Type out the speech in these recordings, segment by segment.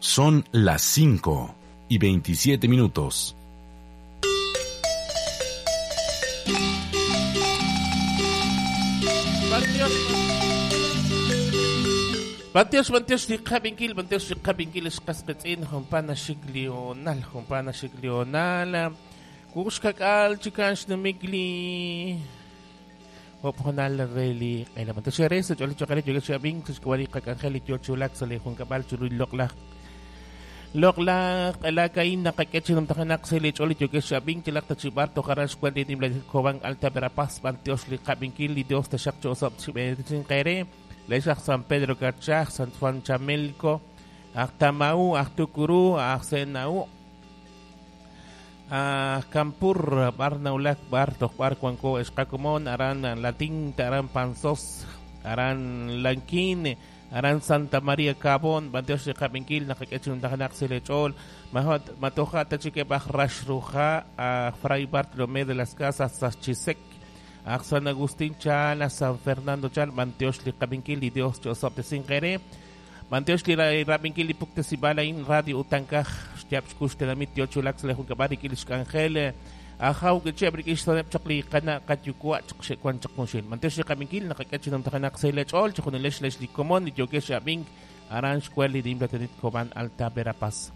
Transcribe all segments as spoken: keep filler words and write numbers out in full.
Son las cinco y veintisiete minutos. Bantios, bantios, liqabinkil, bantios, liqabinkil, esqasqetz'in, jumpana xiklional, jumpana xiklional, kuxkak'al, chikan xnumikli, hopjonal reli, elamantos xerez, choli chokare, yogeshabin, xkwali qak'anjel, yochulak, sale junkab'al, churul loqlaj, loqlaj, elakain, naqak'echinum tajanak, sele choli yogeshabin, chilaqta chibar, tojaran xkwali, nimla Cobán, Alta Verapaz, bantios, liqabinkil, Dios taxaq chosop, chib'e, Lechaj San Pedro Carchaj, San Juan Chamelco, Ajtamau, Ajtucurú, Ajsenaú, Ajcampur, Barnaulac, Bartok, Barcuanco, Escacomón, Arán Latín, Arán Panzós, Arán Lanquín, Arán Santa María Cabón, Banteos de Capinquil, Najaquechun, Tajanak, Selechol, Matoja, Tachiquebaj, Rashruja, Fray Bartolomé de las Casas, Sachisec, San Agustín Chala, San Fernando Chal, Manteosh li Qabinkil, Dios Chosop de Singere, Manteosh li Rabinkil, Puktesibalain, Radio Utankaj, Xtiapxkush, Tenamit, Yochulax, Lejunkabari, Kilishkangel, Ajaw, Gechebrik, Ishtonep, Chakli, Kana, Katyukua, Chakshekuan, Chakmunshil, Manteosh li Qabinkil, Nakakachinam Tajanak, Selech, Ol, Chakunilesh, Lesh, Likomon, Yokesh, Abink, Aransh, Kueli, Dimlatenit, Cobán, Alta Verapaz.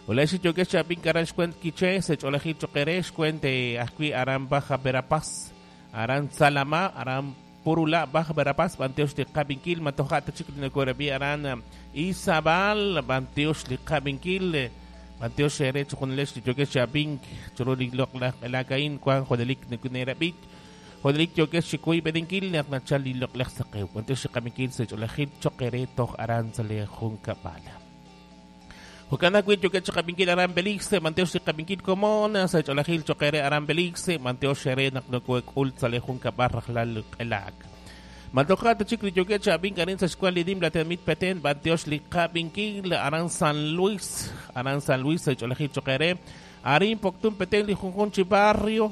Olesh, Yokesh, Abink, Aransh, Kuent, Quiché, Sech, Olejit, Choqueresh, Kuente, Ajui, Aran, Baja, Verapaz. Aran Salama, Aran Purula, Baja Verapaz, Banteosh de Qabinkil, Matoja, Tachik, Aran Izabal, Banteosh de Qabinkil, Banteosh Erech, Junlesh, Yokesh, Abink, Churuli, Lokla, Elakain, Juan, Jodelik, Nekunerabit, Jodelik, Yokesh, Chikui, Bedinkil, Nachali, Lokla, Sakeu, Banteosh de Qabinkil, Secholajit, Chokere, Toj, Aran, Sale, Junkabala. Jukanakuit, Yokesh, Qabinkil, Aran Belixe, Manteosh de Qabinkil, Comona, Secholajil, Chokere, Aran Belixe, Manteosh Ere, Naknokuek, Ult, Sale, Junkabar, Rajlal, Elak. Matoja, Chikli, Yokesh, Abink, Aran, Sescuali, Dim, Latemit, Petén, Manteosh, Qabinkil, Aran San Luis, Aran San Luis, Secholajil, Chokere, Arin, Poctun, Petén, Lijunjunchi, Barrio,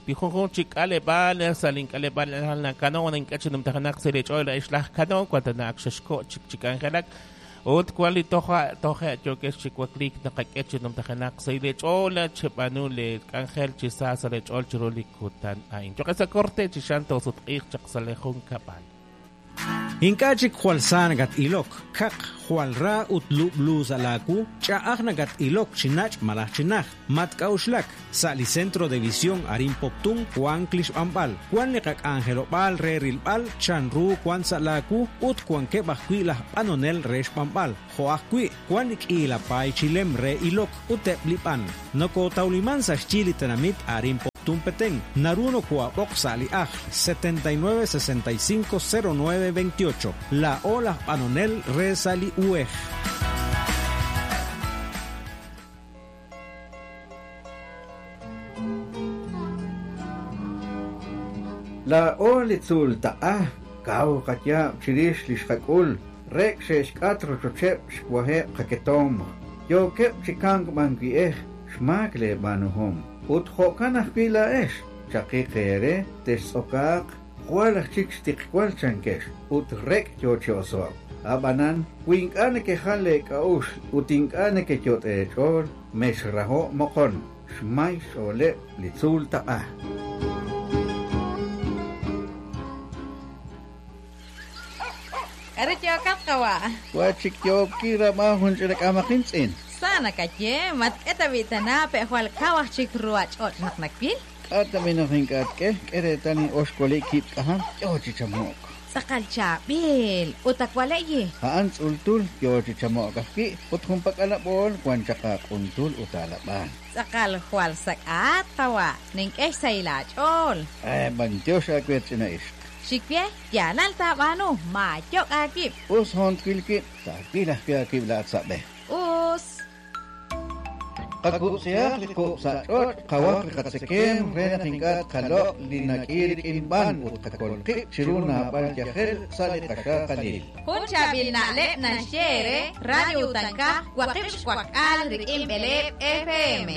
Lijunjunchi, Kalebal, Salin, Kalebal, Cano, Nankachinum, Tajanak, Selechola, Ishlaj, Cano, Cuantanak, Sheshko, Chik, Chikangelak, Ut kwali toja toja yokesh chikwaklik nakak'echinum tajanak sailech'ola chib'anu le k'anjel chisa salech'ol chirulikutan ain chokesa corte chishanto sutq'ij chaqsalejun kapal. Ink'achik jwal sa nakat ilok, kaq jwal ra ut lub'lu sa laaku, ch'a'aj nakat ilok chinach malaj chinaj, matk'auxlak, sa li Centro de Visión Arin Poptún, Juan Klixb'anb'al, Juan li qak'anjelob'al re rilb'al, chanru Juan sa laaku, ut Juan keb' ajwi' laj b'anonel re xb'anb'al, jo' ajwi' Juan li k'iilapay chilem re ilok ut eb' li b'an. Nokotawliman sa xyi li tenamit Arin Poptún Petén, Naruno Cuaboc Sali Aj, setenta y nueve sesenta y cinco cero nueve veintiocho, La Ola Panonel Resali Uej. La Ola Ta'a, Kau Katya, Chirish Lishakul, Rek Sheshkatro Chochep, Shwahe Kaketom, Yokep Chikang Bangieh, Shmakle Banuhom. Ut jo'kan ajwi' laa'ex, chaqiq eere, textz'okaaq, jwal aj chik xtiqwal chankex, ut rek' yoo chi oso'k. Ab'anan, wi ink'a' nekejal leek'a'uxl ut ink'a' nekeyot' eech'ool, mexrajo' moqon, xmay xch'ooleb' li tzuul taq'a. K'aru yookat qawa'? Wa chik yook'i ramaj jun ch'ilak'amaqin tz'in. Sana kaye, matk'eta bitana pe jwal kawaj chik ruwach'och naq nakpil. K'ata minojin k'atk'e, k'eretal in oxkuali kib' k'ajam, yoo chichamo'k. Tz'aqal chab'il, ut akwale'yi. A'an tz'ultul, yoo chichamo'k ajwi', ut junpak'alab'ool wan chaqaq'untul ut alab'al. Tz'aqal jwal sak'at qawa', nink'ex sa ilach'ool. Ay, bantiox akwet ch'ina ixq. Xikwie, yalal tab'anu, mayok akib'. Us jontwil kib', takwil ajwi' akib' la'atzab'ej. Us. Qaku'siaq li ku'sach'och' qawaj li qatzekem re naq ink'a' qaloq' li nak'i rik'in b'an ut qakolqib' chiru naab'al yajel sa' li qaxaqalil. Jun chaab'il na'leb' naxye re Radio Utankaj waqib' xwaq'al rik'in b'eleeb' F M.